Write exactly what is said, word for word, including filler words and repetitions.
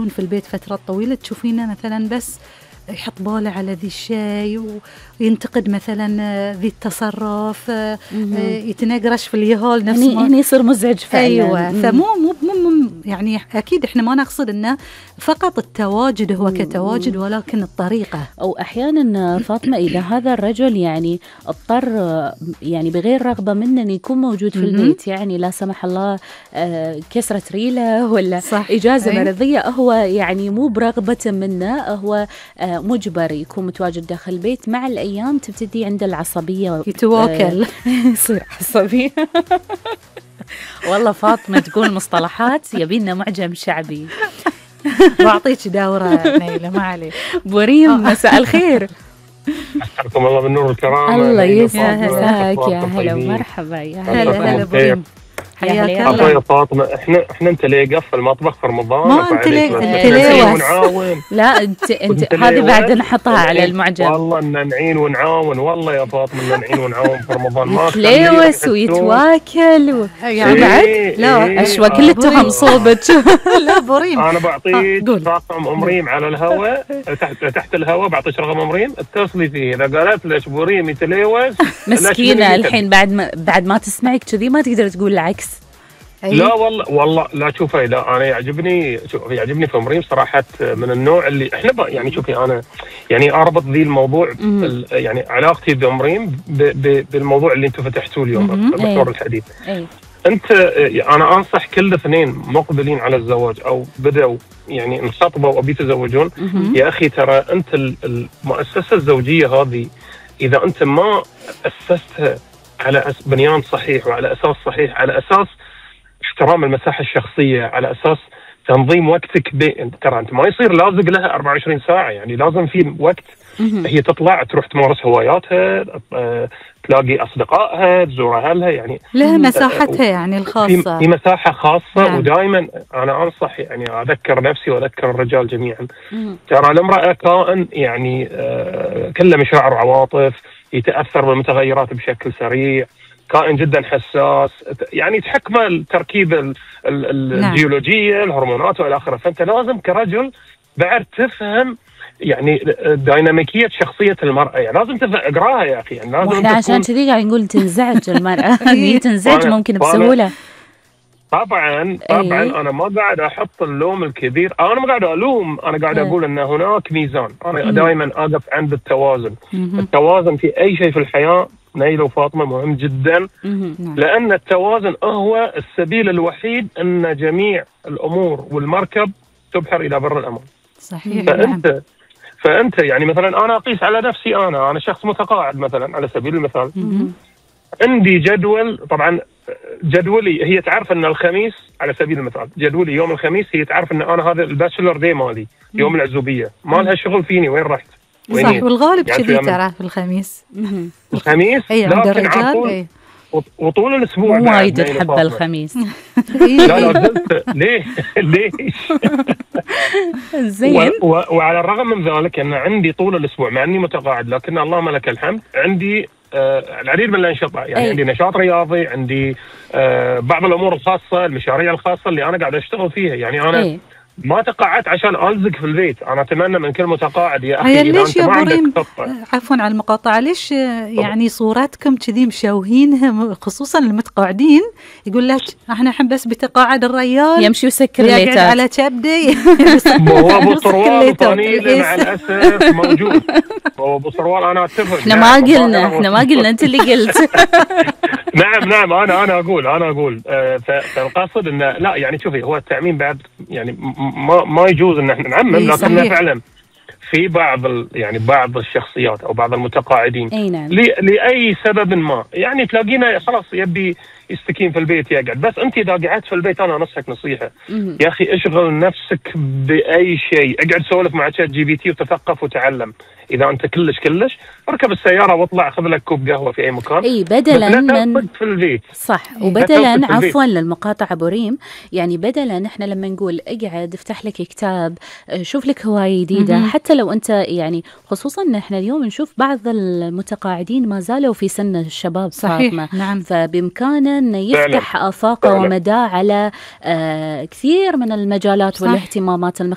في البيت فترة طويلة تشوفينه مثلا بس يحط باله على ذي الشيء وينتقد مثلا ذي التصرف، يتنقرش في اليهال نفس ما يعني يصير مزعج فعلا. أيوة. فمو مو مو يعني أكيد إحنا ما نقصد إنه فقط التواجد هو كتواجد، ولكن الطريقة. أو أحيانا فاطمة إذا هذا الرجل يعني اضطر يعني بغير رغبة منه أن يكون موجود في البيت، يعني لا سمح الله كسرت ريله ولا صح. إجازة أي. مرضية، هو يعني مو برغبة منه، هو مجبر يكون متواجد داخل البيت. مع الأيام تبتدي عند العصبية، يتواكل يصير عصبي. والله فاطمة تقول مصطلحات يبينا معجم شعبي. بعطيك دورة نيلة ما عليك. بوريم مساء الخير. أحبكم الله بالنور والكرامة. الله يسعدك يا هلا ومرحبا. يا هلا هلا بوريم، حياك الله يا فاطمة. احنا احنا انت ليه قف المطبخ في رمضان؟ ما انت ليه ونعاون؟ لا انت انت هذه بعد نحطها على المعجم. والله ان نعين ونعاون، والله يا فاطمة ان نعين ونعاون في رمضان. ما يتلوث ويتواكل و... يعني بعد إيه لا إيه اشوى كل التهم صوبك. لا بوريم انا بعطيك رقم ام ريم على الهواء، تحت تحت الهواء بعطيك رقم ام ريم اتصلي فيه. اذا قالت لك بوريم يتلوث مسكينة الحين بعد ما بعد ما تسمعك كذي ما تقدر تقول العكس. لا والله والله لا شوفي، لا انا يعجبني يعجبني في مريم صراحه، من النوع اللي احنا يعني شوفي انا يعني اربط ذي الموضوع يعني علاقتي بمريم بالموضوع اللي انتم فتحتوه اليوم محور الحديث. أي. انت انا انصح كل اثنين مقبلين على الزواج او بدأوا يعني انخطبوا او بيتزوجون، يا اخي ترى انت المؤسسه الزوجيه هذه اذا انت ما اسستها على بنيان صحيح وعلى اساس صحيح، على اساس احترام المساحة الشخصية، على أساس تنظيم وقتك بي... ترى أنت ما يصير لازق لها أربعة وعشرين ساعة، يعني لازم في وقت هي تطلع تروح تمارس هواياتها، تلاقي أصدقائها، تزور أهلها، يعني لها مساحتها يعني الخاصة، في مساحة خاصة. نعم. ودائما أنا أنصح يعني أذكر نفسي وأذكر الرجال جميعا، ترى المرأة كائن يعني آه كله مشاعر وعواطف، يتأثر بالمتغيرات بشكل سريع، كائن جدا حساس، يعني تحكمه التركيبة الجيولوجية، الهرمونات والى اخره. فانت لازم كرجل بعد تفهم يعني ديناميكية شخصية المرأة، يعني لازم تفهم اقراها يا اخي، يعني لازم. واحنا عشان كذي قاعد نقول تنزعج المرأة. هي تنزعج ممكن بسهولة. طبعا طبعا أيه. انا ما قاعد احط اللوم الكبير، انا ما قاعد الوم، انا قاعد اقول ان هناك ميزان. انا دائما اقف عند التوازن. التوازن في اي شيء في الحياة نيلة وفاطمة مهم جدا، لأن التوازن هو السبيل الوحيد أن جميع الأمور والمركب تبحر إلى بر الأمان. صحيح. فأنت نعم. فأنت يعني مثلا أنا أقيس على نفسي، أنا أنا شخص متقاعد مثلا على سبيل المثال، عندي جدول. طبعا جدولي هي تعرف أن الخميس على سبيل المثال، جدولي يوم الخميس هي تعرف أن أنا هذا الباتشلر دي مالي يوم العزوبية، ما لها شغل فيني وين رحت. صح، والغالب كذي يعني ترى في الخميس. الخميس اي عند الرجال اي، وطول الاسبوع مو وايد تحب الخميس. لا لا زلت ليه ليش زين. وعلى الرغم من ذلك ان عندي طول الاسبوع مع اني متقاعد، لكن اللهم لك الحمد عندي آه العديد من الانشطه، يعني أي. عندي نشاط رياضي، عندي آه بعض الامور الخاصه، المشاريع الخاصه اللي انا قاعد اشتغل فيها. يعني انا أي. ما تقاعدت عشان ألزق في البيت. أنا أتمنى من كل متقاعد يا أخي إذا ليش أنت يا بوريم، عفوا على المقاطعة، ليش يعني صوراتكم كذي مشوهينها خصوصا المتقاعدين؟ يقول لك احنا نحب بس بتقاعد الريال يمشي ويسكر ليتات، يقعد على كبدي. هو أبو صروال وطنيلة مع الأسف موجود. هو أبو صروال أنا أتفق. احنا ما قلنا احنا ما قلنا أنت اللي قلت. نعم نعم أنا أنا أقول أنا أقول آه فالقصد إنه لا، يعني شوفي هو التعميم بعد يعني ما ما يجوز ان احنا نعمم، لكن فعلا في بعض يعني بعض الشخصيات او بعض المتقاعدين نعم. لاي سبب ما يعني تلاقينا خلاص يبي يستكين في البيت يقعد. بس انت اذا قعدت في البيت انا انصحك نصيحه مم. يا اخي اشغل نفسك باي شيء، اقعد سولف مع شات جي بي تي وتثقف وتعلم. اذا انت كلش كلش اركب السياره واطلع خذ لك كوب قهوه في اي مكان، اي بدلا من في البيت. صح. وبدلا عفوا للمقاطعه بوريم، يعني بدلا احنا لما نقول اقعد افتح لك كتاب، شوف لك هوايه جديده، مم. حتى لو انت يعني خصوصا ان احنا اليوم نشوف بعض المتقاعدين ما زالوا في سن الشباب. صحيح. فاطمة. نعم. فبامكانه إنه يفتح آفاقه ومداه على آه كثير من المجالات والاهتمامات المختلفة.